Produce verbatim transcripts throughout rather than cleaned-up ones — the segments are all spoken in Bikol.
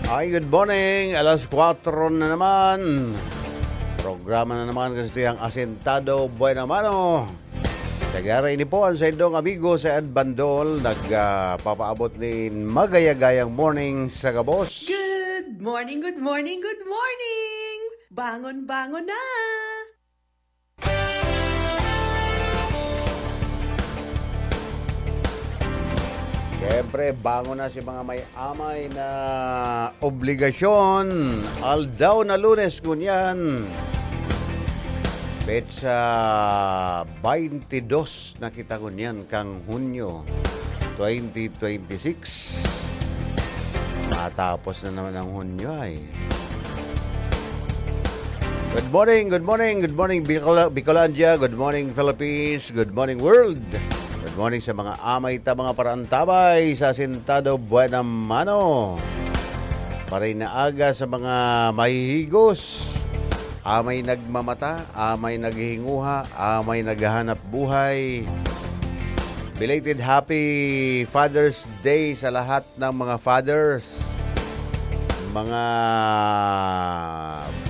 Ay, good morning. Alas kwatro na naman. Programa na naman kasi ito yung Asentado Buena Mano. Sa giyara ini po ang sa indong amigo sa Ed Bandol, nagpapaabot nin magayagayang morning sa gabos. Good morning, good morning, good morning! Bangon, bangon na! Siyempre, bangon na si mga may amay na obligasyon. Aldaw na Lunes ngunyan. Petsa twenty-two na kita ngunyan kang Hunyo twenty twenty-six. Matapos na naman ang Hunyo ay. Good morning, good morning, good morning Bicol- Bicolandia, good morning Philippines, good morning world. Good morning sa mga amay ta mga parantabay sa Asentado Buena Mano. Maray na aga sa mga mahihigos, amay nagmamata, amay naghihinguha, amay naghahanap buhay. Belated happy Father's Day sa lahat ng mga fathers, mga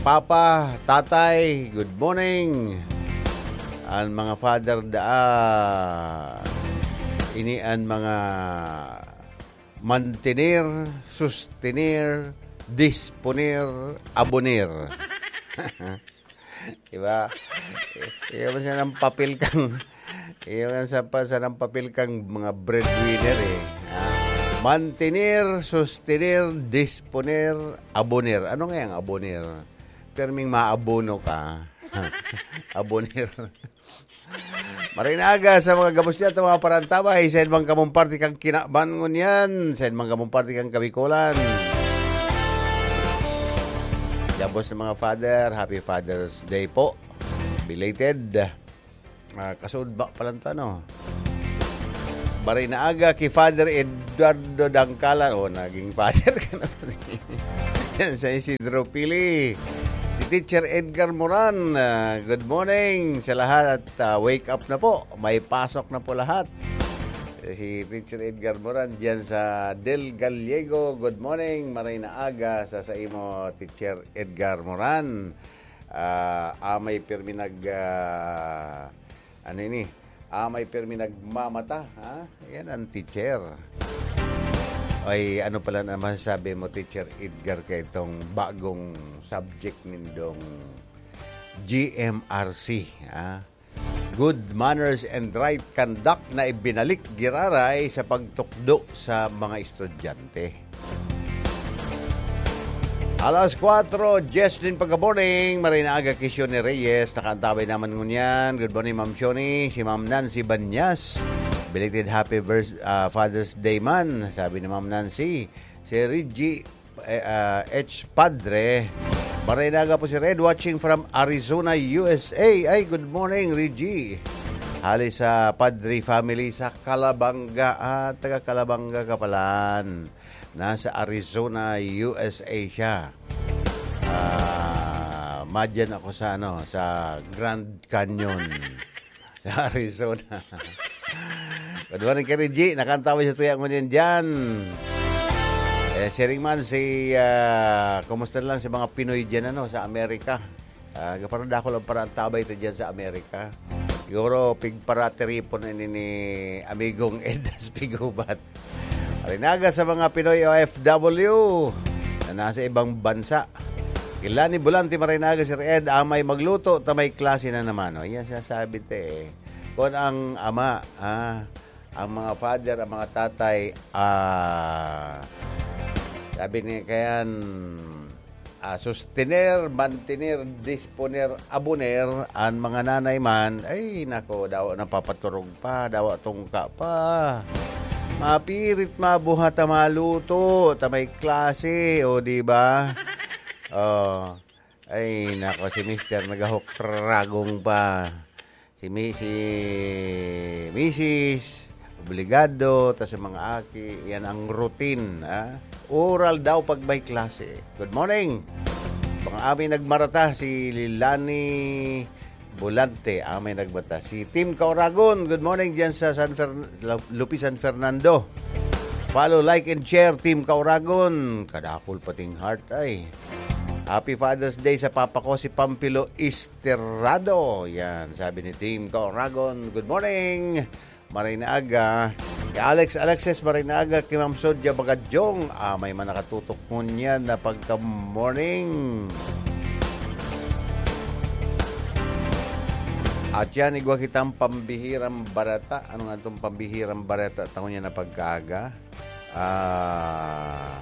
papa, tatay, good morning. Ang mga father daa, ini ang mga mantener, sustener, disponer, aboner. Diba? Iyon sa ng papel kang iyon sa pa sa ng papel kang mga breadwinner eh. Ha? Mantener, sustener, disponer, aboner. Ano nga yung aboner? Perming maabono ka. Aboner. Marinaga sa mga gabos niya, mga parantabay, sa edmang kamong parte kang kinaban ngunyan, sa edmang kamong parte kang kabikolan. Gabos ng mga father, happy Father's Day po. Belated. Ah, kasudba pa lang to, ano? Baray na aga ki Father Eduardo Dangkalan. Oh, naging father ka na pala. Diyan sa Isidro Pili. Si Teacher Edgar Moran. Ah, good morning sa lahat. Ah, wake up na po. May pasok na po lahat. Si Teacher Edgar Moran diyan sa Del Gallego. Good morning. Maray na aga sa sa imo, Teacher Edgar Moran. Ah, amay pirmi nag ah, ano ini? Amay pirmi nagmamata, ha? Yan ang teacher. Ay, ano pala na masasabi mo, Teacher Edgar, kay itong bagong subject nindong G M R C, ha? Good manners and right conduct na ibinalik giraray sa pagtukdo sa mga estudyante. Alas kwatro, Jesslyn Pagkaborning, maray na aga ki Shoni Reyes, nakaantabay naman ngunyan. Good morning, Ma'am Shoni. Si Ma'am Nancy Banyas, belated happy vers- ah, Father's Day man, sabi ni Ma'am Nancy. Si Reggie eh, ah, H Padre, maray na aga po si Red, watching from Arizona, U S A. Ay, good morning, Reggie. Hali sa Padre family sa Calabanga. Ah, taga Calabanga ka palan. Nasa Arizona, U S A siya. Ah, madyan ako sa ano, sa Grand Canyon. Sa Arizona. Good morning, Kari G. Nakantaway sa tuya ngunyan dyan. Eh, siring man si, ah, kumusta lang si mga Pinoy dyan, ano, sa Amerika? Ah, parang dako lang para ang tabay ta dyan sa Amerika. Siguro, pigparatiripon na ini ni amigong Edas Pigubat. Alinaga sa mga Pinoy O F W na nasa ibang bansa. Kila ni Bulante Marinaga, Sir Ed, amay magluto, ta may klase na naman. O, yan sinasabi te eh. Kung ang ama, ah, ang mga father, ang mga tatay, ah, sabi ni kayan, ah, sustener, mantener, disponer, aboner, an mga nanay man, ay nako, dawa napapaturog pa, dawa tungka pa. Mapirit mabuhat ta maluto, ta may klase, o di ba? Oh. Ay nako, si Mister nagahokragong pa. Si mi si misis, obligado, tas yung mga aki, yan ang routine, ah. Oral daw pag may klase. Good morning! Mga ami nagmarata, si Lilani Bulante, amay nagmarata. Si Tim Kauragon, good morning dyan sa San Fern- Lupi San Fernando. Follow, like, and share, Team Kauragon. Kadakul pating heart ay. Happy Father's Day sa papa ko, si Pampilo Esterado. Yan, sabi ni Team Kauragon. Good morning. Maray na aga. Kay Alex Alexis, maray na aga. Kay Ma'am Sodia Bagadyong. Ah, may man nakatutok ngunyan na pagka-morning. At yan, igwa kitang pambihirang barata. Ano nga itong pambihirang barata? Tango niya na pagkaaga. Ah,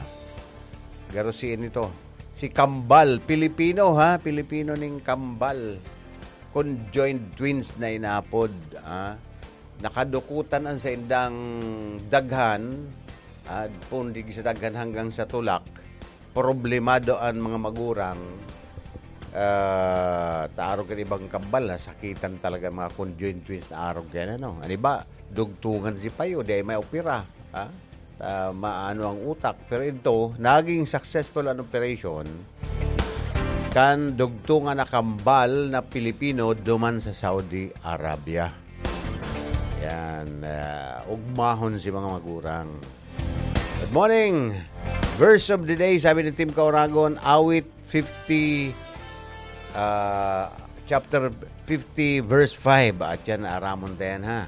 garo si ito. Si Kambal, Pilipino ha, Pilipino ning Kambal. Conjoined twins na inapod, ha. Nakadukutan ang saindang daghan, ah, pundigi sa daghan hanggang sa tulak. Problemado ang mga magurang, ah, ta arog kan ibang Kambal, nasakitan talaga ang mga conjoined twins na arog yan, ano. Ano ba? Dugtungan si payo, di ay may opera, ha? Ah, maano ang utak. Pero ito, naging successful an operation kan dugtungan na Kambal na Pilipino duman sa Saudi Arabia. Yan, ah, ugmahon si mga magurang. Good morning! Verse of the day, sabi ni Team Kauragon, awit fifty, ah, chapter fifty, verse five. At yan, aramon ta yan, ha?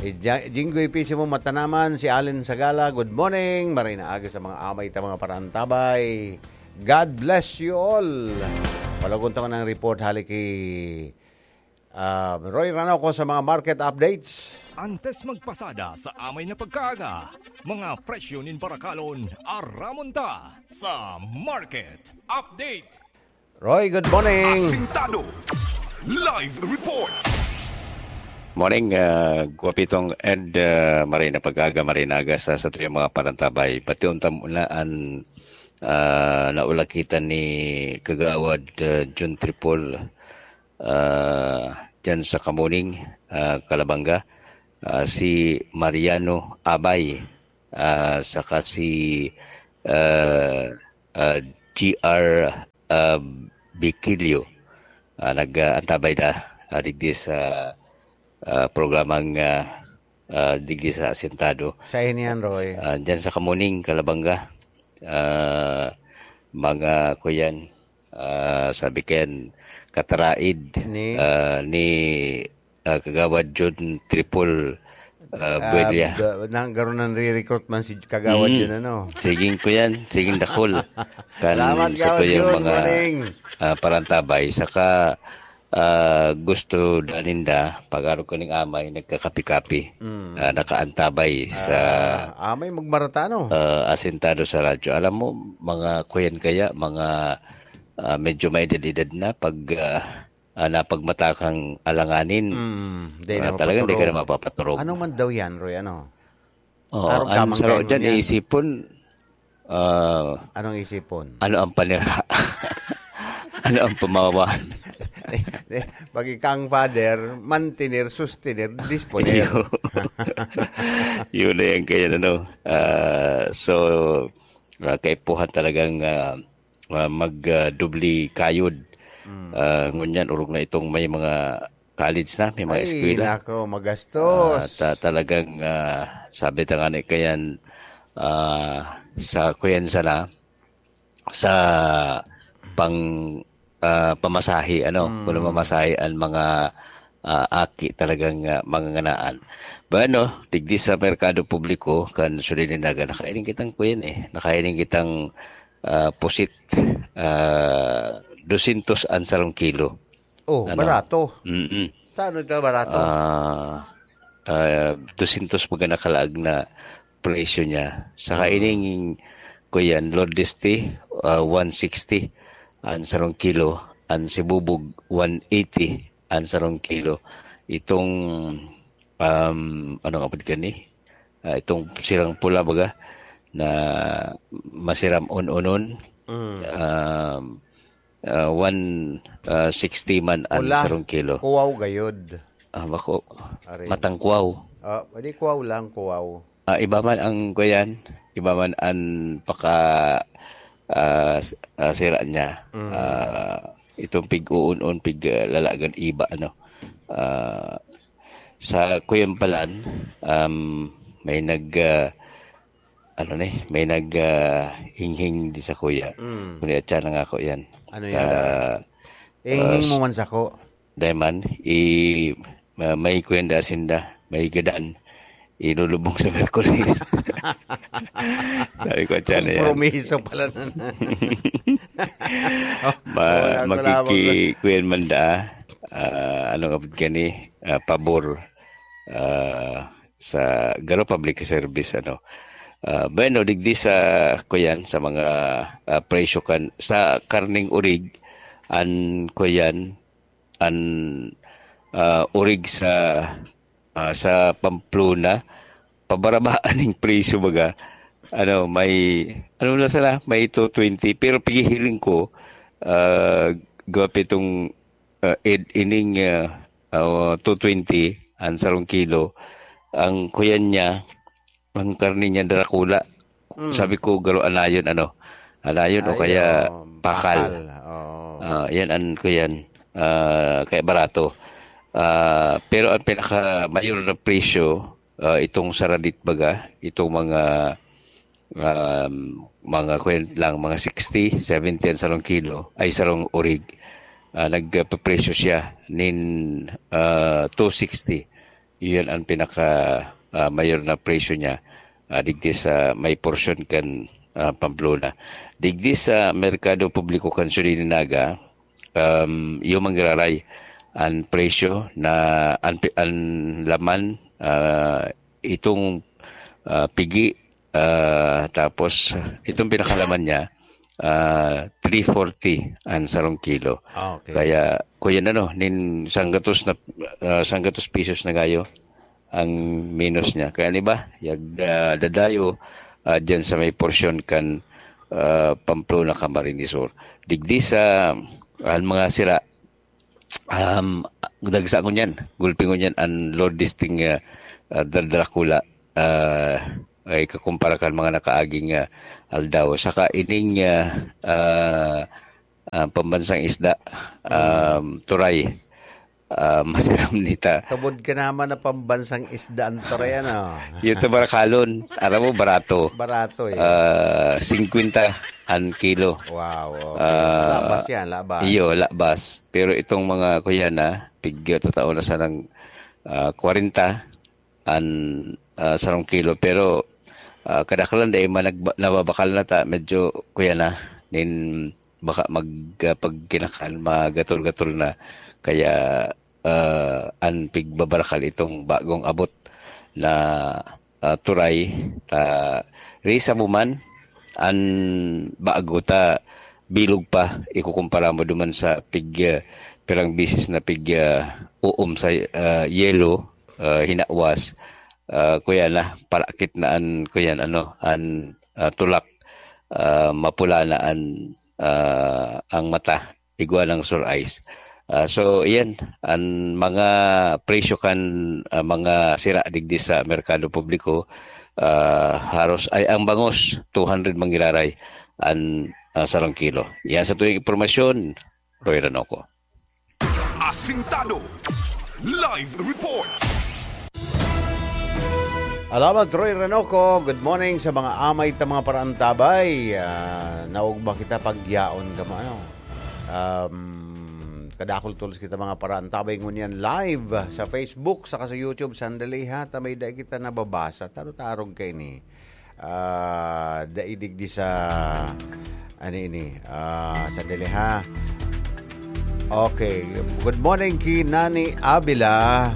Ija-, Jinggoy Pisimo Matanaman, si Allen Sagala, good morning. Maray na aga sa mga amay ta mga parantabay. God bless you all. Palagon ta ng report, hali kay, ah, Roy Ranaco sa mga market updates. Antes magpasada sa amay na pagkaaga, mga presyo nin barakalon, aramon ta sa market update. Roy, good morning. Asintado. Live report. Morning, ah, Guapitong and, ah, maray na pag-aga, maray na aga sa, sa tuyang mga parantabay. Pati unta muna an, ah, naulakitan ni Kagawad, ah, Jun Tripol, ah, dyan sa Kamuning, ah, Calabanga, ah, si Mariano Abay, ah, saka si, ah, ah, G R, ah, Bikilio. Ah, nag-, ah, antabay na, ah, digdi sa, ah, programang, ah, ah, digdi sa Asintado. Sa iniyan, Roy. Ah, dyan sa Kamuning, Kalabanga. Ah, mga kuyan, ah, sabi kayan, kataraid, ni, ah, ni, ah, Kagawad Jun Tripol, ah, ah, Buelia. Da-, nang garo nang re-recruit man si Kagawad Mm. Jun, ano? Siging kuyan, siging dakul. Kan Salamat, sa Kagawad tuyang Jun. Mga, Morning. Ah, parantabay. Saka, ah, gusto da ninda, pag-arog ko ning amay, nagkakapi-kapi. Mm. Ah, nakaantabay sa Ah, amay magmarata, no? Ah, asintado sa radyo. Alam mo, mga kuyan kaya, mga, ah, medyo may edad-edad na, pag, ah, ah, napagmatakang alanganin, Mm, di ah, na talagang di ka na mapapaturog. Mapapaturog. Ano man daw yan, Roy? Ano? Oo, Arog ka ang mang saro kain mo dyan, niyan? Isipon, ah, Anong isipon? Ano ang panira? Ano ang pamawan? Eh, eh, pag ika ang father, mantener, sustener, disponer. Yun. Yun na yan kaya, ano. Ah, so, ah, kaipuhan talagang, ah, ah, mag, ah, doble kayod. Mm. Ah, ngunyan, orog na itong may mga college na, may mga Ay, eskwela. Nako, magastos. Ah, ta-, talagang, ah, sabi ta nga ni kayan, ah, sa kuyan sana, sa pang, ah, pamasahe, ano, Mm. kung namamasahe ang mga, ah, aki talagang, ah, manganganaan. Bueno, digdi sa merkado publiko, kan Sulilinagan, nakailing kitang kuyan eh. Nakailing kitang, ah, pusit, ah, dosyentos ang sarong kilo. Oh, Ano? barato. Mm-mm. Saan ito barato? Ah, ah, dosyentos baga nakalaag na presyo niya. Saka Mm. ining, kuyan, Lord Deste, ah, one sixty ang sarong kilo. Ang sibubog, one eighty ang sarong kilo. Itong, um, ano nga pud gani? Ah, itong sirang pula baga na masiram on-onon. Mm. Um, ah, one, ah, sixty man ang Pula. sarong kilo. Kuwaw gayod. Ah, bako. Aray. Matangkuwaw. Ah, di kuwaw lang, kuwaw. Ah, iba man ang kuyan, iba man ang paka, ah, s-, ah, sira niya. Mm. Ah, itong pig-uun-un, pig, ah, lalagan iba, ano. Ah, sa kuyan palan, um, may nag, ah, ano ni, may nag, ah, hinghing di sa kuya. Mm. Kuya, tiyan na nga ako yan. Ano yan? Ah, Hinghing ah, mo man sako. Dai man, i-, ma-, may kuyan da sinda, may gadan. Ilulubong sa Miyerkules. Sabi ko, "Tiyan na yan." Kompromiso pala na. Oh, ma-, wala ko lamang. Makiki-, kuyan man da, ah, ano nga gani, ah, pabor, ah, sa garo public service, ano. Ah, bueno, digdi sa, kuyan, sa mga, ah, presyo kan, sa karning orig, an, kuyan, an, ah, orig sa, ah, sa Pamplona, pabarabaan ning presyo baga. Ano, may, ano na sana, may two twenty, pero pighihiling ko, ah, gawa pa itong, ah, ed-, ining, ah, ah, two twenty, ang sarong kilo, ang kuyan niya, ang karne niya darakula. Mm. Sabi ko, garo anayon, ano, anayon o Ay, kaya oo, pakal. Pakal, oo. Ah, yan, an, ko yan. Ah, kaya barato. Ah, pero ang pinakamayor na presyo, ah, itong saradit baga, itong mga, um, mga, kuwan lang, mga sixty, seventy ang sarong kilo, ay, sarong orig. Ah, nagpapresyo siya nin, ah, two sixty. Iyan ang pinaka, ah, mayor na presyo niya, ah, digdi sa may porsyon kan, ah, Pamplona. Digdi sa merkado publiko kan Sudininaga, um, iyo manggiraray an presyo na an pi-, an laman, ah, itong, ah, pigi, ah, tapos itong pinakalaman niya, ah, three forty ang sarong kilo. Ah, okay. Kaya, kuyan ano, nin sanggatos na, ah, sanggatos pesos na gayo ang minus niya. Kaya, di ba, yag, ah, dadayo, ah, dyan sa may porsyon kan, ah, Pamplona, Camarines Sur. Digdi sa, ah, mga sira, um, dagsa ngunyan, gulpi ngunyan an Lord Disting, ah, ah, Dra-, Dracula, ah, ay kakumpara kan mga nakaaging, ah, aldaw. Saka ining, ah, ah, ah, pambansang isda, um, turay, ah, masiram nita. Tubod ka naman na pambansang isda ang turay, ano? Yung tabarakalon, aram mo, barato. Barato, eh. Ah, singkwenta an kilo. Wow, okay. Ah, labas yan, labas. Iyo, labas. Pero itong mga kuyan na, pig-, tatao na sanang, ah, kwarenta an, ah, sarong kilo. Pero, ah, kadaklan dai man nagba-, nababakal na ta, medyo kuyan na, nin baka mag, ah, pag kinakan, magatol-gatol na. Kaya, ah, an pigbabarakal itong bagong abot na, ah, turay, ta, risa mo man, an bago ta bilog pa, ikukumpara mo duman sa pig, ah, pirang bisis na pig, ah, uom sa, ah, yelo, ah, hinawas, ah, kuya na, parakit na an, kuya na, ano, an, ah, tulak, ah, mapula na an, ah, ang mata, igwa ng sore eyes. Ah, so, iyan, an mga presyo kan, ah, mga sira digdi sa merkado publiko, ah, haros ay ang bangos, two hundred manggiraray an, ah, sarong kilo. Iyan sa tuwing impormasyon, Roy Ranoco. Asintado. Live report. Alamat, Roy Ranoco. Good morning sa mga amay ta mga paraantabay. Ah, naugma kita pagyaon ka mo, ano? Um, kadakul tolos kita mga paraantabay ngunyan live sa Facebook saka sa YouTube. Sandali ha, ta may dai kita nababasa. Tarog-tarog kaini. Ah, dai digdi sa, ano ini? Ah, sandali ha. Okay. Good morning ki Nani Avila.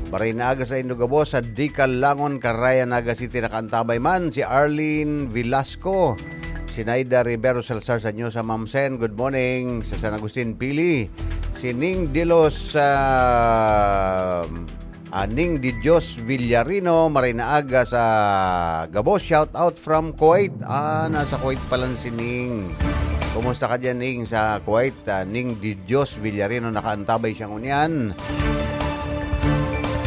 Maray na aga saindo gabos sa Dikalangon, Carayan, Naga City, nakaantabay man si Arlene Velasco, si Naida Rivero Salazar sa Nyosa, Mamsen. Good morning sa San Agustin, Pili. Si Ning Dilos, ah, ah, Ning Di Dios Villarino, maray na aga sa gabos. Shout out from Kuwait. Ah, nasa Kuwait pala si Ning. Kumusta ka diyan, Ning, sa Kuwait? Ah, Ning Di Dios Villarino, nakaantabay siya ngunyan.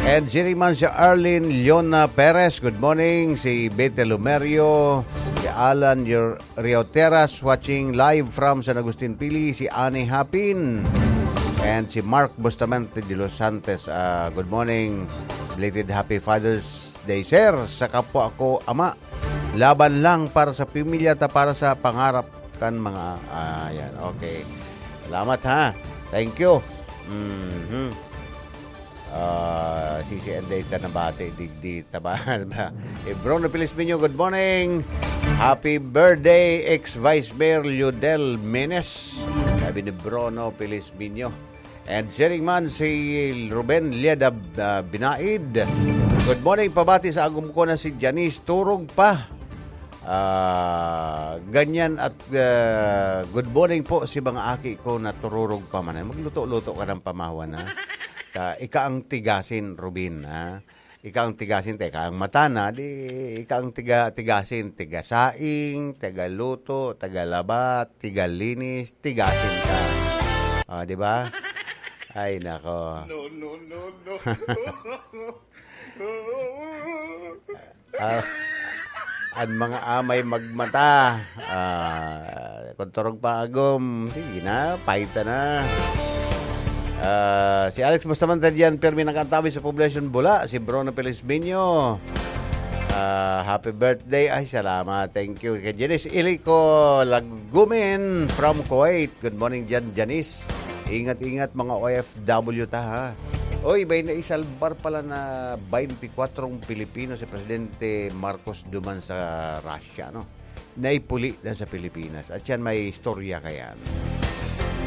And siring man si Arlene Leona Perez, good morning. Si Bete Lumerio, si Alan Yor-, Rio Terras, watching live from San Agustin, Pili, si Annie Hapin, and si Mark Bustamante de los Santos. Ah, good morning. Belated happy Father's Day, sir, sa kapwa ko ama. Laban lang para sa pamilya ta, para sa pangarap kan mga, ah, yan. Okay. Salamat, ha. Thank you. Mhm. Ah, si, si Anday ta nabati, digdi, tabahal ba? Eh, Bruno Felizminio, good morning. Happy birthday, ex-Vice Mayor Liudel Menes. Sabi ni Bruno Felizminio. And sharing man si Ruben Lieda, ah, Binaid. Good morning, pabati sa agom ko na si Janice. Turog pa. Ah, ganyan at, ah, good morning po si mga aki ko na tururog pa man. Magluto-luto ka ng pamahawan, ha? Ta, ika ang tigasin, Ruben, ha? Ika ang tigasin, teka, ang mata na, di ika ang tiga-, tigasin, tigasaing, tagaluto, tagalaba, tigalinis, tigasin ka. Ah, di ba? Ay, nako. No, no, no, no. Ah, an mga amay magmata. Ah, kung turog pa agom, sige na, paita na. Ah, si Alex Bustamante diyan, pirmi nakaantabay sa Poblacion Bula, si Bruno Felizminio. Ah, happy birthday. Ay, salamat. Thank you. Kay Janice Ilico Lagumen from Kuwait. Good morning diyan, Janice. Ingat-ingat, mga O F W ta, ha. Oy, may naisalbar pala na twenty-four Pilipino si Presidente Marcos duman sa Russia, no? Naipuli na sa Pilipinas. At yan, may istorya ka yan.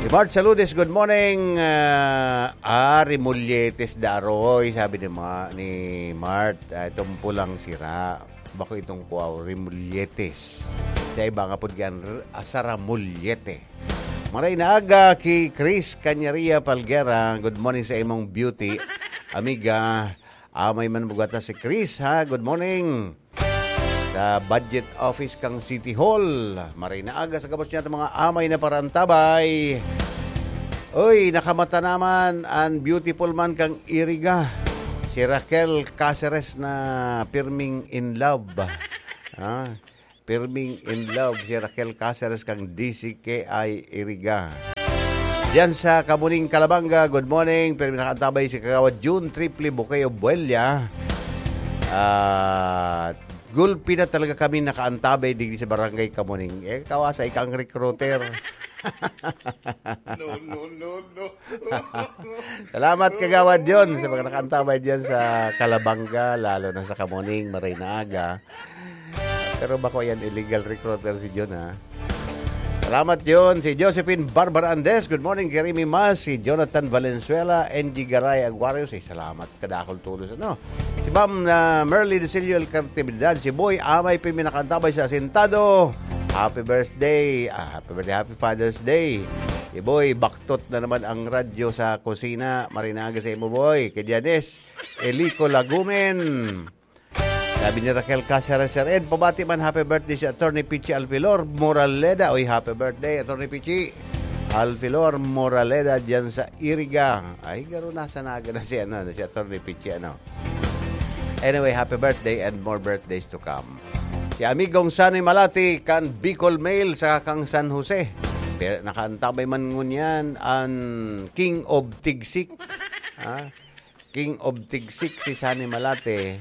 Si Mart Saludes, good morning. Ah, ah, Remolletes da aroy, sabi ni, Ma, ni Mart. Ah, itong pulang sira. Bako itong kuwaw, Remolletes. Sa iba nga po, diyan, r-, ah, Saramollete. Maray na aga ki Chris Canyaria Palguera. Good morning sa imong beauty, amiga. Amay man bugata si Chris, ha? Good morning. Sa budget office kang City Hall. Maray na aga sa gabos niya, mga amay na parantabay. Uy, nakamata naman an beautiful man kang Iriga. Si Raquel Caceres na pirming in love. Ah, pirming in love si Raquel Caceres kang D C K I Iriga. Diyan sa Kamuning, Calabanga, good morning. Pero nakaantabay si Kagawad June Triple Bukayo Buella. Ah, gulpi na talaga kami nakaantabay digdi sa Barangay Kamuning. Eh, kawasa, ika ang recruiter. No, no, no, no. Salamat, Kagawad Jun, sa mga nakaantabay diyan sa Calabanga, lalo na sa Kamuning, maray na aga. Pero bako yan, illegal recruiter si Jun, ha? Salamat, Jun. Si Josephine Barbara Andes, good morning, Kirimi Mas. Si Jonathan Valenzuela, N G Garay Aguario, say salamat. Kadakol tulos, ano? Si Ma'am, ah, Merly Desillo Alcartibidad, si Boy Amay, pirmi nakaantabay sa Asintado. Happy birthday. Ah, happy birthday, happy Father's Day. Si Boy, baktot na naman ang radyo sa kusina. Maray na aga sa imo, Boy. Kay Janice Elico Lagumen. Sabi ni Raquel Caceres, Sir Ed, pabati man, happy birthday si Attorney Pichi Alfilor Moraleda. Oy, happy birthday, Attorney Pichi Alfilor Moraleda, diyan sa Iriga. Ay, garo, nasa Naga na si, ano, si Attorney Pichi, ano. Anyway, happy birthday and more birthdays to come. Si Amigong Sunny Malati kan Bicol Mail sa kang San Jose. Pero nakaantabay man ngunyan an King of Tigsik. Ha? King of Tigsik si Sunny Malate.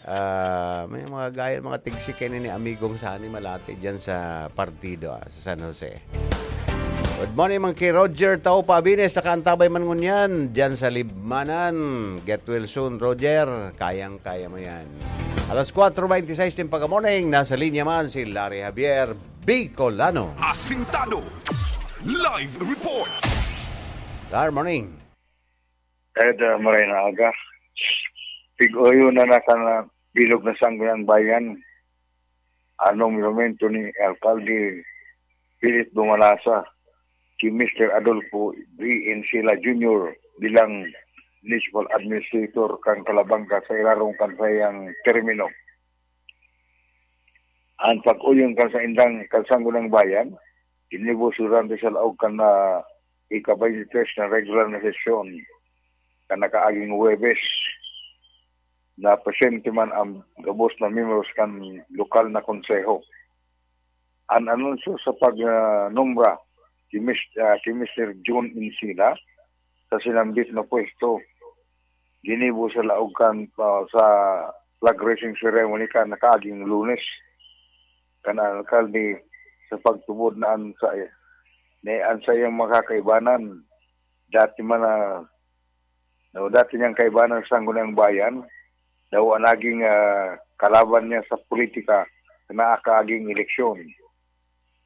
Ah, may mga gaya, mga tigsik kayo ni Amigong Sunny Malate diyan sa partido, ah, sa San Jose. Good morning, man ki Roger Taupa Abines, sa kaantabay man ngunyan, diyan sa Libmanan. Get well soon, Roger. Kayang-kaya mo yan. Alas kwatro beintiseis din pagka-morning, nasa linya man si Larry Javier Bicolano. Asintado. Live report. Good morning. Ed, ah, maray na aga. Pig-oyo na nasa na bilog na Sangguniang Bayan. Anong monumento ni Alkalde Philip Dumalasa ki Mister Adolfo B. Encila Junior bilang Municipal Administrator kan Calabanga sa ilarong kan saiyang termino. An pag-oyon kan saindang kan Sangguniang Bayan, ginibo durante sa laog kan na ika-baynte tres na regular na sesyon kan nakaaging Huwebes. Na presente man ang gabos na miyembros kan lokal na konseho. An anunsyo sa pag, ah, nombra ki Mis-, ah, ki Mister John Encila sa sinambit na pwesto ginibo sa laog kan, ah, sa flag raising ceremony kan nakaaging Lunes. kan alkalde sa pagtubod na an sa, na an saiyang mga kaibanan, dati man na, no, dati niyang kaibanan sa Sangguniang Bayan, daw an naging, ah, kalaban niya sa politika sa nakaaging eleksyon.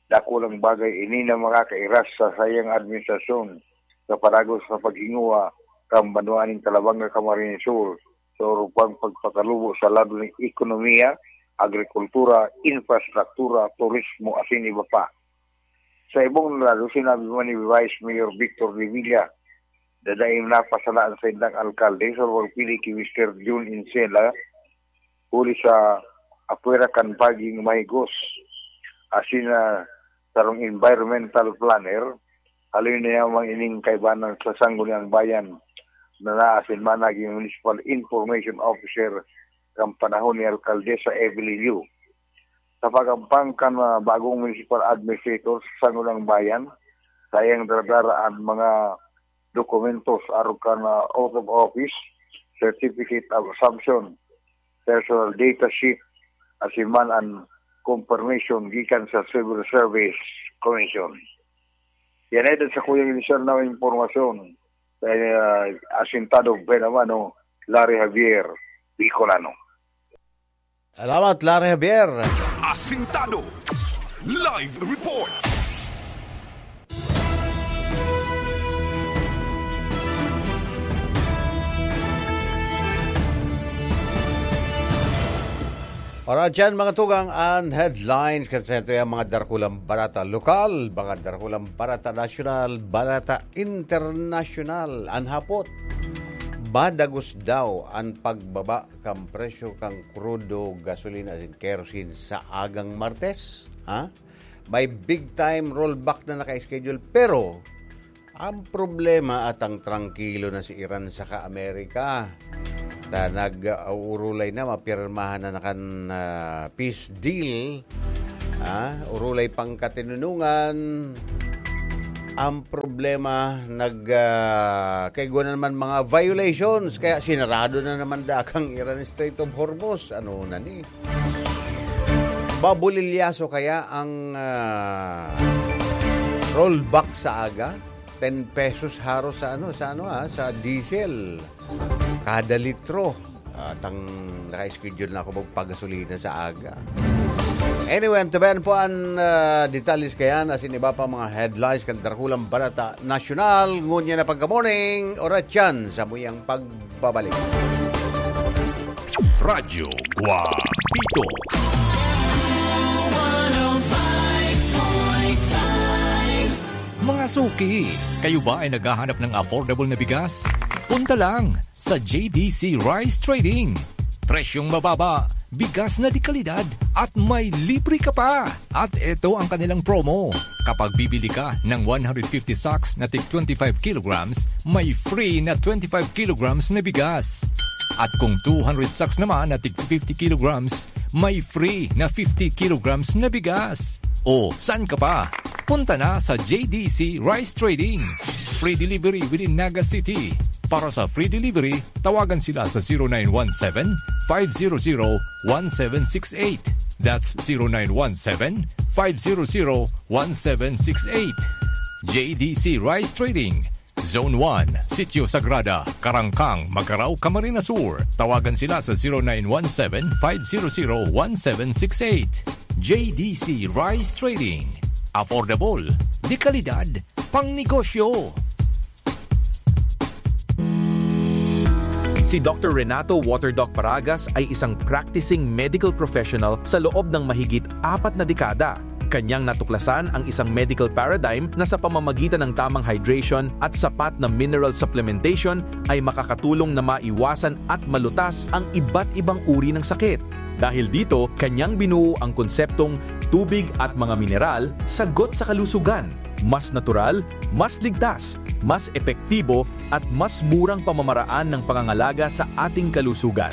Dakulang bagay ini na makakairas sa saiyang administrasyon sa padagos sa paghinguha kan banwa nin Calabanga, Camarines Sur, sa urupang pagpakalubo sa lado nin ekonomiya, agrikultura, infrastruktura, turismo, asin iba pa. Sa ibong lado, sinabi man ni Vice Mayor Victor Revilla, dadaing napasala an saindang alkalde sa pagpili ki Mister Jun Encela, huli sa apwera kan pagiging mahigos, asin na sarong environmental planner, haloy na yaman ining kaibanan sa Sangguniang Bayan na naasin man naging municipal information officer kan panahon ni Alkaldesa Evelyn Liu. Sa pag-ampang kan, ah, bagong municipal administrator sa Sangguniang Bayan, saiyang daradara an mga dokumentos arog kan, ah, oath of office, certificate of assumption, personal data sheet, asin man an confirmation gikan sa Civil Service Commission. Yan ay sa kuyang inisyal na impormasyon. Kaya, ah, asintado pa naman, no, Larry Javier, Bicolano. Salamat, Larry Javier. Asintado. Live report. Para dyan, mga tugang, ang headlines kan sentro, ang mga dakulang barata lokal, mga dakulang barata nasyonal, barata internasyonal. An hapot, madagos daw an pagbaba kan presyo kan krudo, gasolina asin kerosene sa agang Martes, ha? May big time rollback na naka-schedule, pero ang problema at ang trangkilo na si Iran saka Amerika. Ta nag-uurulay na, mapirmahan na na kan, ah, peace deal. Ah, urulay pang katinunungan. Ang problema, nag, ah, kaigwa na naman mga violations, kaya sinarado na naman dakang Iran Strait of Hormuz. Ano na ni? Babulilyaso kaya ang, ah, rollback sa aga? Ten pesos haros sa ano, sa ano, ah, sa diesel. Kada litro. At ang naka-schedule na ako magpagasolina sa aga. Anyway, antabayan po ang, ah, detalles kayan, asin iba pa mga headlines kan dakulang barata nasyonal. Ngunyan na pagka-morning, oras yan sa muyang pagbabalik. Radyo Guapito. Mga suki, kayo ba ay naghahanap ng affordable na bigas? Punta lang sa J D C Rice Trading. Presyong mababa, bigas na de kalidad, at may libre ka pa. At ito ang kanilang promo. Kapag bibili ka ng one hundred fifty sacks na tig twenty-five kilograms, may free na twenty-five kilograms na bigas. At kung two hundred sacks naman na tig fifty kilograms, may free na fifty kilograms na bigas. O, saan ka pa? Punta na sa J D C Rice Trading. Free delivery within Naga City. Para sa free delivery, tawagan sila sa zero nine one seven, five zero zero, one seven six eight. That's zero nine one seven, five zero zero, one seven six eight. J D C Rice Trading, Zone one, Sitio Sagrada, Karangkang, Magarao, Camarines Sur. Tawagan sila sa zero nine one seven, five zero zero, one seven six eight. J D C Rice Trading. Affordable, de kalidad, pang negosyo. Si Doktor Renato Water Doc Paragas ay isang practicing medical professional sa loob ng mahigit apat na dekada. Kanyang natuklasan ang isang medical paradigm na sa pamamagitan ng tamang hydration at sapat na mineral supplementation ay makakatulong na maiwasan at malutas ang iba't ibang uri ng sakit. Dahil dito, kanyang binuo ang konseptong tubig at mga mineral, sagot sa kalusugan. Mas natural, mas ligtas, mas epektibo, at mas murang pamamaraan ng pangangalaga sa ating kalusugan.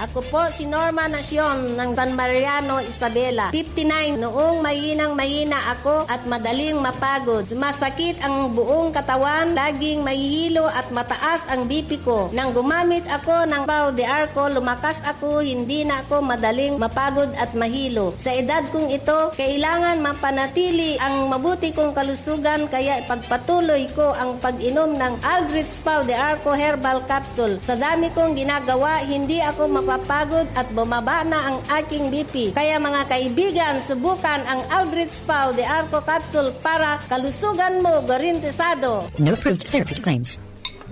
Ako po si Norma Nacion ng San Mariano, Isabela, fifty-nine. Noong mahinang-mahina ako at madaling mapagod, sumasakit ang buong katawan, laging mahihilo at mataas ang B P ko. Nang gumamit ako ng Pau de Arco, lumakas ako, hindi na ako madaling mapagod at mahilo. Sa edad kong ito, kailangan mapanatili ang mabuti kong kalusugan, kaya ipagpatuloy ko ang pag-inom ng Aldrich Pau de Arco Herbal Capsule. Sa dami kong ginagawa, hindi ako mapapagod at bumaba na ang aking B P. Kaya mga kaibigan, subukan ang Aldrich Pau de Arco Capsule para kalusugan mo garantisado. No approved therapeutic claims.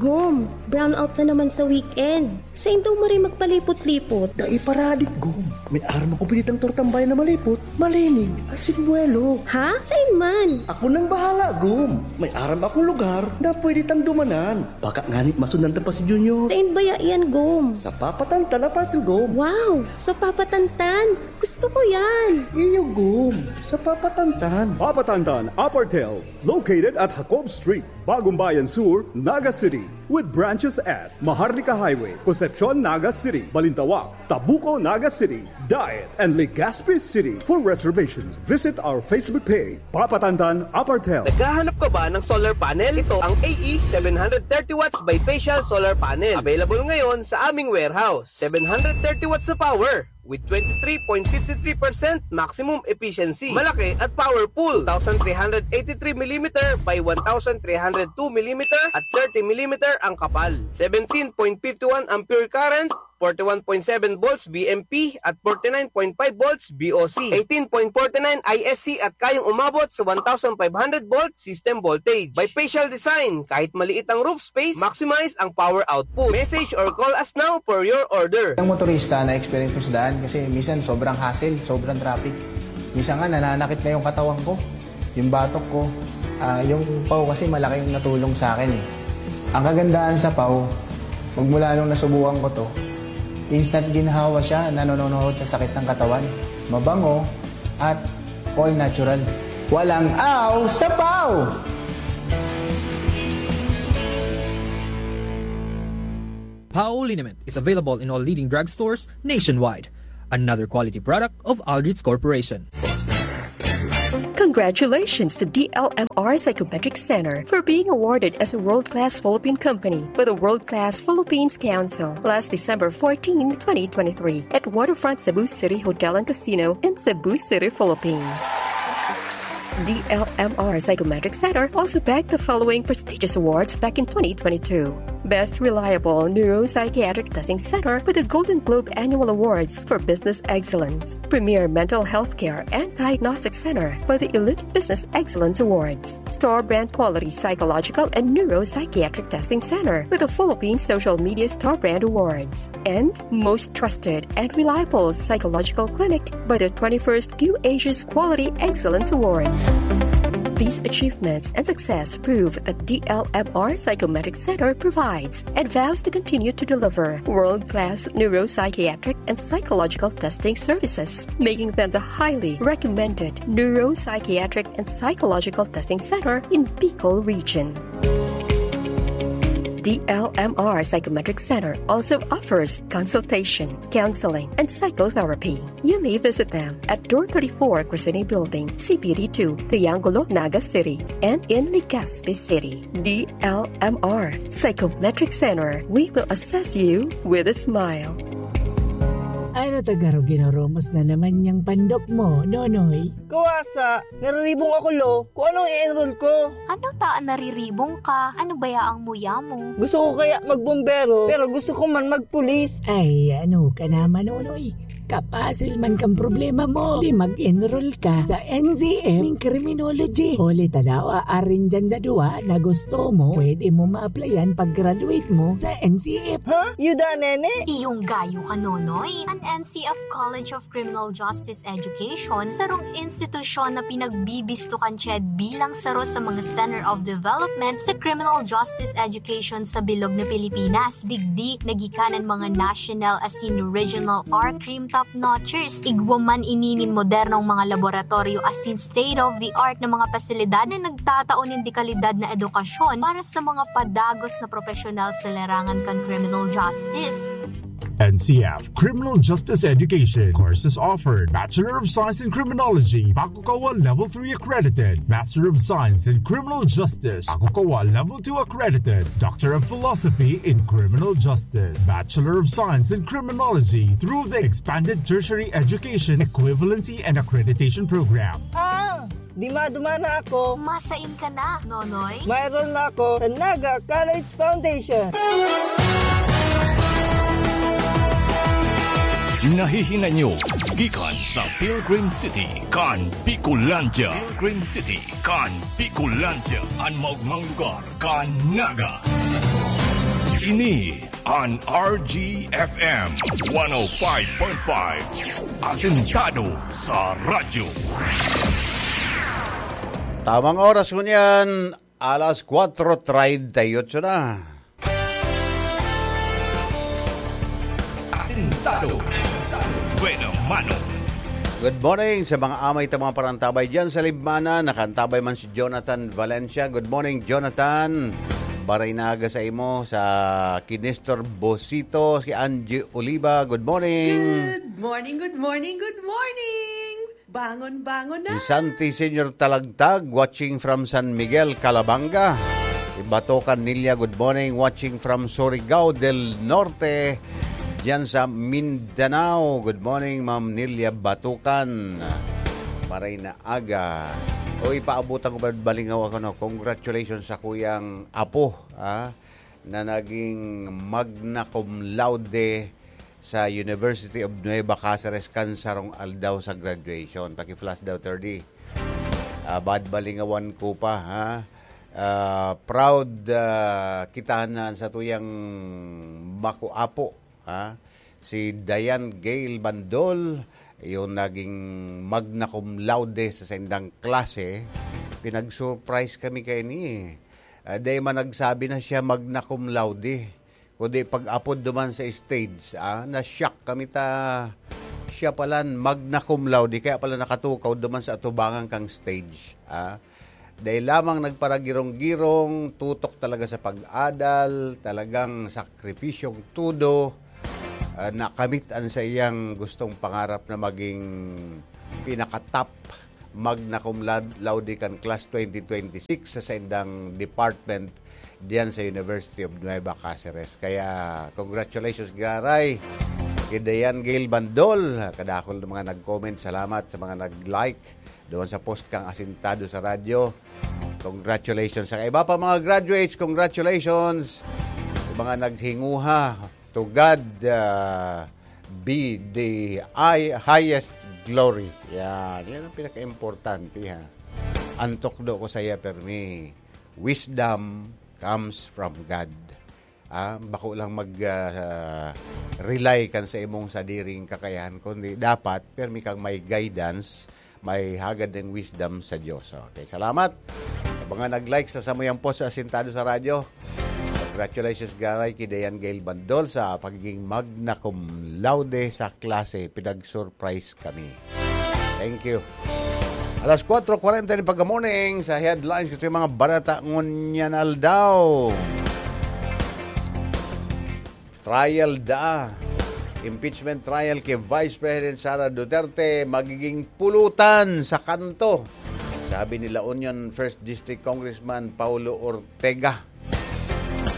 Gum, brownout na naman sa weekend. Sain daw maray magpalipot-lipot? Dai paradik, Gum. May aram ako pinitang tortambay na malipot, malinig, asin buwelo. Ha? Sain man? Ako nang bahala, Gum. May aram akong lugar na pwede tang dumanan. Baka ngani masundan ta pa si Junior. Sain baya yan, Gum? Sa Papatantan Apartel, Gum. Wow! Sa Papatantan? Gusto ko yan! Iyo, Gum. Sa Papatantan. Papatantan Apartel, located at Jacob Street, Bagumbayan Sur, Naga City, with branches at Maharlika Highway, Concepcion, Naga City, Balintawak, Tabuco, Naga City, Daet, and Legazpi City. For reservations, visit our Facebook page, Papatantan Apartel. Naghahanap ka ba ng solar panel? Ito ang A E seven hundred thirty watts bifacial solar panel. Available ngayon sa aming warehouse. Seven hundred thirty watts na power with twenty-three point fifty-three percent maximum efficiency. Malaki at powerful. Two thousand three hundred eighty-three millimeter by one thousand three hundred two millimeter at thirty millimeter ang kapal. Seventeen point fifty-one ampere current, forty-one point seven volts V M P at forty-nine point five volts V O C. Eighteen point forty-nine I S C at kayang umabot sa one thousand five hundred volt system voltage. Bifacial design, kahit maliit ang roof space, maximize ang power output. Message or call us now for your order. Ang motorista na experience ko sa daan kasi minsan sobrang hassle, sobrang traffic. Minsan nga nananakit na yung katawan ko, yung batok ko. Ah, yung pau kasi malaking natulong sa akin eh. Ang kagandahan sa pau, magmula nung nasubukan ko to, instant ginhawa siya, nanononohod sa sakit ng katawan. Mabango at all natural. Walang aw sa pau! Pau liniment is available in all leading drugstores nationwide. Another quality product of Aldrich Corporation. Congratulations to D L M R Psychometric Center for being awarded as a world-class Philippine company by the World Class Philippines Council last December fourteen, twenty twenty-three, at Waterfront Cebu City Hotel and Casino in Cebu City, Philippines. D L M R Psychometric Center also bagged the following prestigious awards back in twenty twenty-two: Best Reliable Neuropsychiatric Testing Center with the Golden Globe Annual Awards for Business Excellence, Premier Mental Health Care and Diagnostic Center for the Elite Business Excellence Awards, Star Brand Quality Psychological and Neuropsychiatric Testing Center with the Philippine Social Media Star Brand Awards, and Most Trusted and Reliable Psychological Clinic by the twenty-first Q Asia's Quality Excellence Awards. These achievements and success prove that D L M R Psychometric Center provides and vows to continue to deliver world-class neuropsychiatric and psychological testing services, making them the highly recommended neuropsychiatric and psychological testing center in Bicol region. D L M R Psychometric Center also offers consultation, counseling, and psychotherapy. You may visit them at Door thirty-four, Crescene Building, C P D two, Triangulo, Naga City, and in Legazpi City. D L M R Psychometric Center. We will assess you with a smile. Ano ta garo ginoromos na naman yang pandok mo, Nonoy? Kawasa, nariribong ako, lo. Kung anong i-enroll ko. Ano ta an nariribong ka? Ano baya ang muya mo? Gusto ko kaya magbombero, pero gusto ko man magpulis. Ay, ano ka naman, Nonoy? Kapasil man kang problema mo. Di mag-enroll ka sa N C F ning criminology. Huli ta daw, arin dyan sa duwa na gusto mo, pwede mo ma-applyan pag-graduate mo sa N C F. Ha? Yuda, nene? Iyong gayo ka, Nonoy. An N C F College of Criminal Justice Education, sarong institusyon na pinagbibisto kan CHED bilang saro sa mga Center of Development sa criminal justice education sa bilog na Pilipinas. Digdi, nagikanan mga national asin regional or crime top notchers. Igwa man ini nin modernong mga laboratoryo asin state-of-the-art na mga pasilidad na nagtatao nin dekalidad na edukasyon para sa mga padagos na propesyonal sa larangan kan criminal justice. N C F, Criminal Justice Education. Courses offered: Bachelor of Science in Criminology, Pakukawa Level three accredited; Master of Science in Criminal Justice, Pakukawa Level two accredited; Doctor of Philosophy in Criminal Justice, Bachelor of Science in Criminology through the Expanded Tertiary Education Equivalency and Accreditation Program. Ah! Dima-duma na ako. Masain ka na, Nonoy? Mayroon na ako sa Naga College Foundation. Nahihinanyo gikan sa Pilgrim City kan Bicolandia. Pilgrim City kan Bicolandia, an maogmang lugar kan Naga. Ini an R G F M one oh five point five, asentado sa radyo. Tamang oras ngunyan, alas kwatro treinta y ocho na. Asentado. Buena mano. Good morning sa mga amay ta mga parantabay diyan sa Libmanan. Nakaantabay man si Jonathan Valencia. Good morning, Jonathan. Baray na aga sa imo, sa ki Nestor Bosito, si Angie Oliva. Good morning. Good morning, good morning, good morning. Bangon, bangon na. Si Santi Senior Talagtag, watching from San Miguel, Calabanga. Si Batokan Nilia, good morning, watching from Surigao del Norte. Diyan sa Mindanao, good morning, Ma'am Nilia Batukan. Maray na aga. O, ipaabutan ko ba balingaw ako, no? Congratulations sa kuyang apo, ah, na naging magna cum laude sa University of Nueva Caceres kan sarong aldaw sa graduation. Paki-flash daw, thirty. Ah, bad balingawan ko pa, ha? Ah, proud, ah, kita na sa tuyang makuapo, ha? Si Diane Gail Bandol, yung naging magna cum laude sa saindang klase, pinag-surprise kami kaini, eh. Ah, dai man nagsabi na siya magna cum laude, kundi pag-apod duman sa stage, ah, na-shock kami ta siya palan magna cum laude, kaya pala nakatukaw duman sa atubangan kang stage, ah. Dai lamang nagparagirong-girong, tutok talaga sa pag-adal, talagang sakripisyong todo, ah, nakamit an saiyang gustong pangarap na maging pinaka-top magna cum laud-, laude kan class twenty twenty-six sa saindang department diyan sa University of Nueva Caceres. Kaya, congratulations, giraray, kay Diane Gail Bandol. Kadakul na mga nag-comment. Salamat sa mga nag-like doon sa post kang Asintado sa Radyo. Congratulations sa iba pa mga graduates. Congratulations sa mga naghinguha. To God, ah, be the high-, highest glory. Yan. Yan ang pinaka-importante, ha. Ang tukdo ko sa iya, permi, wisdom comes from God. Ah, bako lang mag, ah, rely kan sa imong sadiring kakayahan, kundi dapat permi kang may guidance, may hagad ning wisdom sa Diyos. Okay, salamat. Sa mga nag-like sa samuyang post sa Asintado sa Radyo, congratulations, giraray, kay Diane Gail Bandol sa pagiging magna cum laude sa klase. Pinag-surprise kami. Thank you. Alas kwatro kwarenta ni pagka-morning sa headlines, kasi mga barata ngunyan aldaw. Trial da. Impeachment trial kay Vice President Sara Duterte magiging pulutan sa kanto, sabi ni La Union First District Congressman Paulo Ortega.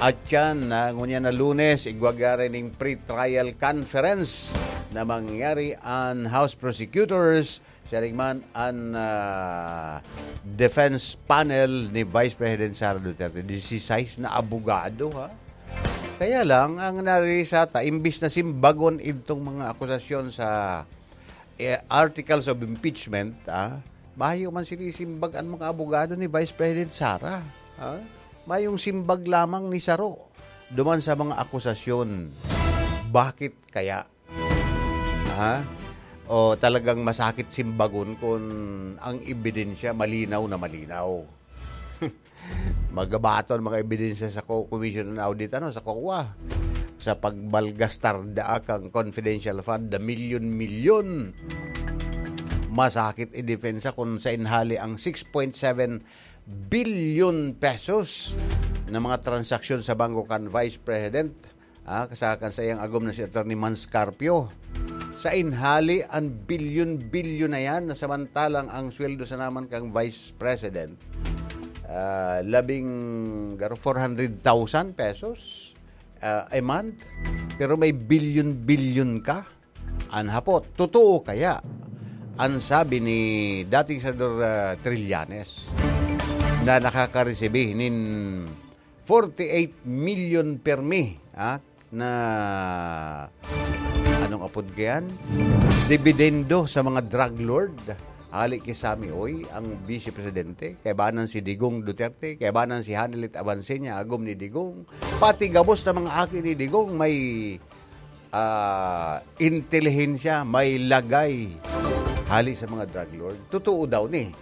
At yan, na ngunyan na Lunes, igwa giraray ning pre-trial conference na mangyayari an House Prosecutors, siring man an, ah, defense panel ni Vice President Sara Duterte. Disisais na abogado, ha? Kaya lang, ang narisa ta, imbis na simbagon itong mga akusasyon sa, eh, articles of impeachment, ah, mayo man sinisimbag ang mga abogado ni Vice President Sara, ha? Mayong simbag lamang ni saro duman sa mga akusasyon. Bakit kaya? Ha? O talagang masakit simbagon kun ang ebidensya malinaw na malinaw? Magabaton mga ebidensya sa ko-, Commission on Audit, ano, sa kokwa. Sa pagmalgastar daa kang confidential fund na milyon-milyon. Masakit idepensa kun sa inhali ang six point seven billion pesos na mga transaksyon sa bangko kan Vice President Ah, kasa-, kan saiyang agom na si Attorney Mans Carpio. Sa inhali, an bilyon-bilyon na yan, na samantalang ang sweldo sana man kan Vice President, ah, labing, garo, four hundred thousand pesos, ah, a month. Pero may bilyon-bilyon ka. An hapot, totoo kaya an sabi ni dating Senador, ah, Trillanes na nakakaresibi nin forty-eight million permi, ah, na, anong apod kayan? Dibidendo sa mga drug lord. Hali ki Sammy Uy, ang Vice Presidente. Kaibanan si Digong Duterte, kaibanan si Hanelet Avancenia, agom ni Digong. Pati gabos na mga aki ni Digong may, ah, intelihensya, may lagay hali sa mga drug lord. Totoo daw ni.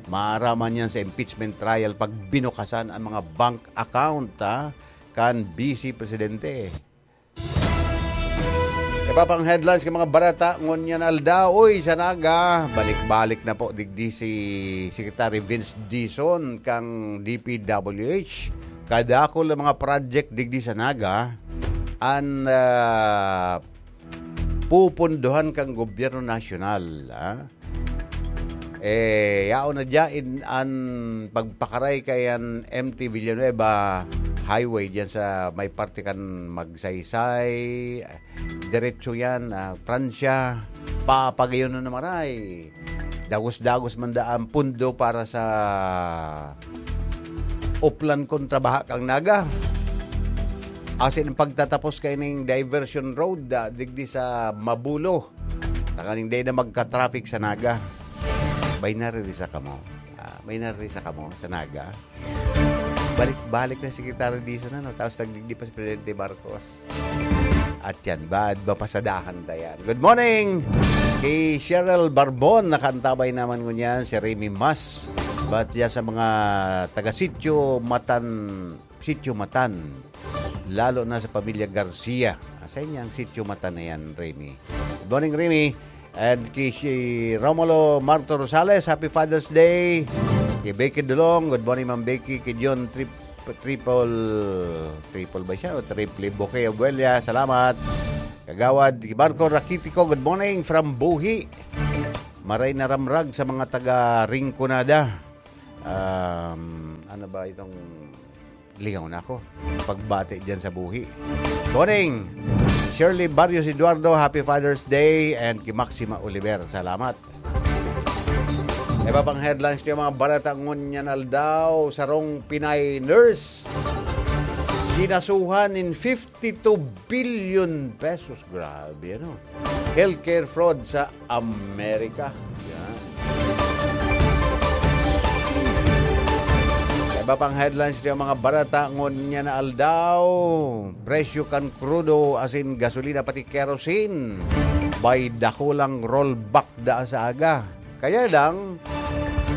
Maaraman yan sa impeachment trial pag binukasan ang mga bank account, ha, kan Vice Presidente. Iba pang headlines kan mga barata ngunyan aldaw. Uy, sa Naga, balik-balik na po digdi si Secretary Vince Dizon kang D P W H. Kadakul na mga project digdi sa Naga an, ah, pupundohan kang gobyerno nasyonal, ah. Eh, yaon na dyan an pagpakaray kay an M T Villanueva Highway dyan sa may parte kan Magsaysay, diretso yan, ah, Pransya, papagayon na naman ay. Dagos-dagos man daan pundo para sa Oplan kontra baha kang Naga. Asin ang pagtatapos kaining diversion road, ah, digdi sa Mabulo. Tanganing dai na magka-traffic sa Naga. May naririsa kamo. Ah, may naririsa kamo sa Naga. Balik-balik na si Secretary Dizon, ano? Tapos nagdigdi pa si Presidente Marcos. At yan, bad mapasadahan ta yan. Good morning! Kay Cheryl Barbon, nakaantabay naman ngunyan si Remy Mas. But yan sa mga taga-sitio Matan, Sitio Matan, lalo na sa pamilya Garcia. Sa inyang Sitio Matan na yan, Remy. Good morning, Remy. And kay si Romulo Marto Rosales, happy Father's Day. Kay Becky Dulong, good morning, Ma'am Becky. Kay John Trip-, Triple, Triple ba siya? O Triple Bouquet, Abuela, salamat. Kagawad, kay Marco Rakitico, good morning from Buhi. Maray na ramrag sa mga taga Rinconada. Um, ano ba itong Lingaw na ako. Pagbati dyan sa Buhi. Morning! Shirley Barrios Eduardo, happy Father's Day. And kay Maxima Oliver, salamat. Iba pang headlines niyo, mga barata ngunyan aldaw, sarong Pinay nurse kinasuhan nin fifty-two billion pesos. Grabe, ano? Healthcare fraud sa Amerika. Yan. Sa iba pang headlines niyo, mga barata, ngunyan na aldaw, presyo kan krudo, asin gasolina, pati kerosene, may dakulang rollback da sa aga. Kaya lang,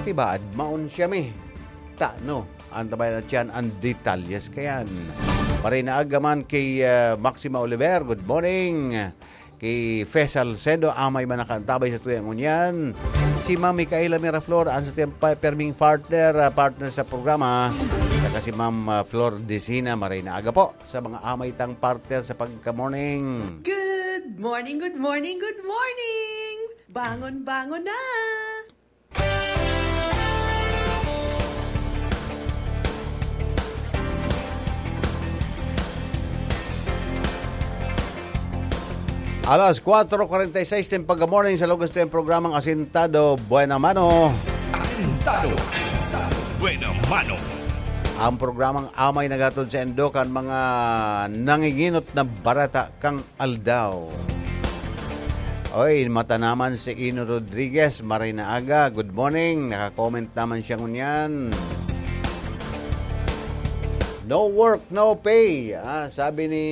tibaad maon siya mi. Tano, antabayan na tiyan ang detalyes kayan. Maray na aga man kay, ah, Maxima Oliver, good morning. Kay Fe Salcedo, amay man nakaantabay sa tuyang ngunyan. Si Ma'am Micaela Miraflor, ang sa tuyang pa-, perming partner, ah, partner sa programa. Saka si Ma'am, ah, Flor Decina, maray na aga po sa mga amay tang partner sa pagka-morning. Good morning, good morning, good morning! Bangon, bangon na! Alas kwatro kwarenta y seis nin pagka-morning sa lugas to yung programang Asintado Buena Mano. Asintado Buena Mano. Ang programang amay nagatod sa indo kan mga nanginginot na barata kang aldaw. Oy, mata naman si Ino Rodriguez, maray na aga. Good morning. Naka-comment naman siya ngunyan. No work, no pay. Ah, sabi ni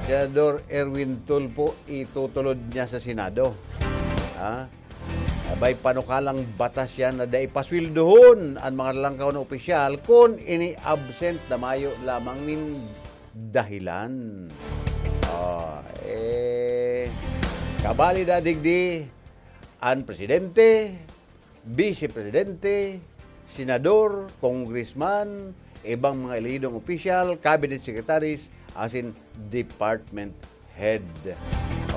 Senador Erwin Tulfo, itutulod niya sa Senado. Ah, may panukalang batas yan na dai pasweldohon an mga lalangkaw na opisyal kun ini absent na mayo lamang nin dahilan. Ah, eh, kabali da digdi an presidente, vice presidente, senador, congressman, ibang mga elehidong opisyal, cabinet secretaries, asin department head.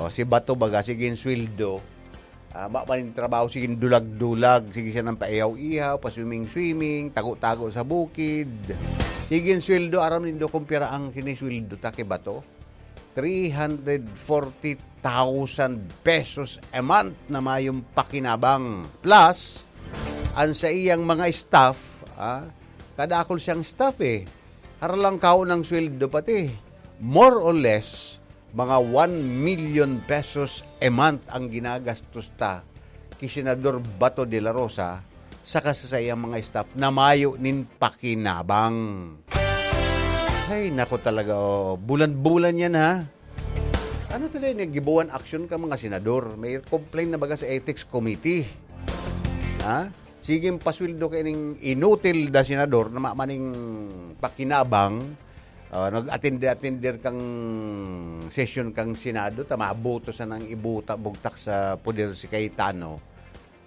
O, si Bato baga, sige sweldo. Ah, ma-, man trabaho, sige dulag-dulag, sige siya nang paihaw-ihaw, pa-swimming-swimming, tago-tago sa bukid. Sige sweldo, aram nindo kung pira ang sinisweldo ta ki Bato? Three hundred forty thousand pesos a month na mayong pakinabang. Plus, ang sa iyang mga staff, ah, kadakol siyang staff eh. Haralang kao ng sweldo pati. More or less, mga one million pesos a month ang ginagastos ta ki Senador Bato de la Rosa saka sa saiyang mga staff na mayo nin pakinabang. Ay, nako talaga, oh. Bulan-bulan yan, ha? Ano talaga yung gibuan aksyon ka mga senador? May complaint na baga sa ethics committee. Ha? Sige, pasweldo ka ining inutil na senador na ma-, maning pakinabang. Ah, nag-attend-attend kang session kang Senado, ta maboto sa nang ibuta, bugtak sa poder si Cayetano.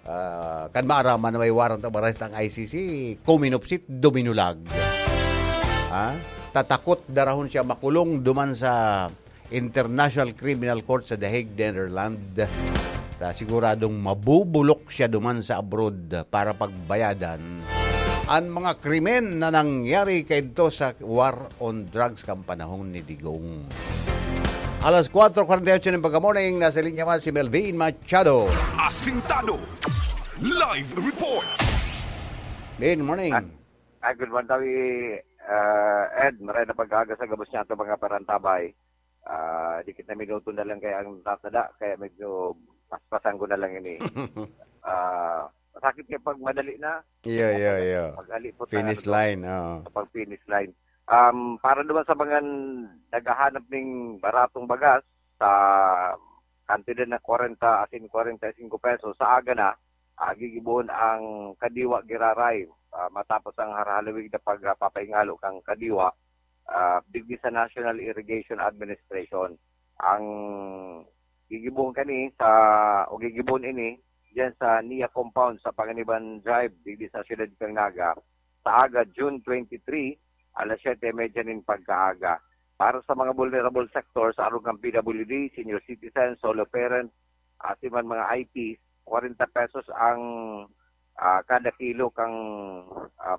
Ah, kan maaraman na may warrant of arrest ang I C C, kuminupsit, duminulag. Ha? Tatakot darahon siya makulong duman sa International Criminal Court sa The Hague, Netherlands. Ta siguradong mabubulok siya duman sa abroad para pagbayadan an mga krimen na nangyari kaidto sa war on drugs kan panahon ni Digong. Alas kwatro kwarenta y ocho ng pagka-morning, nasa linya man si Melvin Machado. Asintado. Live report. Good morning. Ah, ah, good morning, Tawi, ah, Ed. Maray na pag-aga sa gabos niya ito, mga parantabay. Ah, dikit na minuto na lang kaya ang tatada, kaya medyo paspasan ko na lang ini. Ah, masakit kaya pag madali na. Yeah, yeah, yeah. Pag-ali po sa Finish ano, line, oo. Sa pag-finish line. Um, para naman sa mga naghahanap ning baratong bagas sa kantidad na kwarenta asin kwarenta y singko pesos, sa aga na, ah, gigibohon ang Kadiwa Giraray, ah, matapos ang harhalawig na pagpapahingalo kang Kadiwa, ah, digdi sa National Irrigation Administration. Ang gigibohon kani sa, o gigibohon ini diyan sa Nia Compound sa Panganiban Drive, digdi sa siyudad kan Naga, sa aga, June twenty-three, alas siyete y media nin pagkaaga. Para sa mga vulnerable sectors, arog kan P W D, senior citizen, solo parent, asin man mga I Ps, kwarenta pesos ang, ah, kada kilo kang, ah,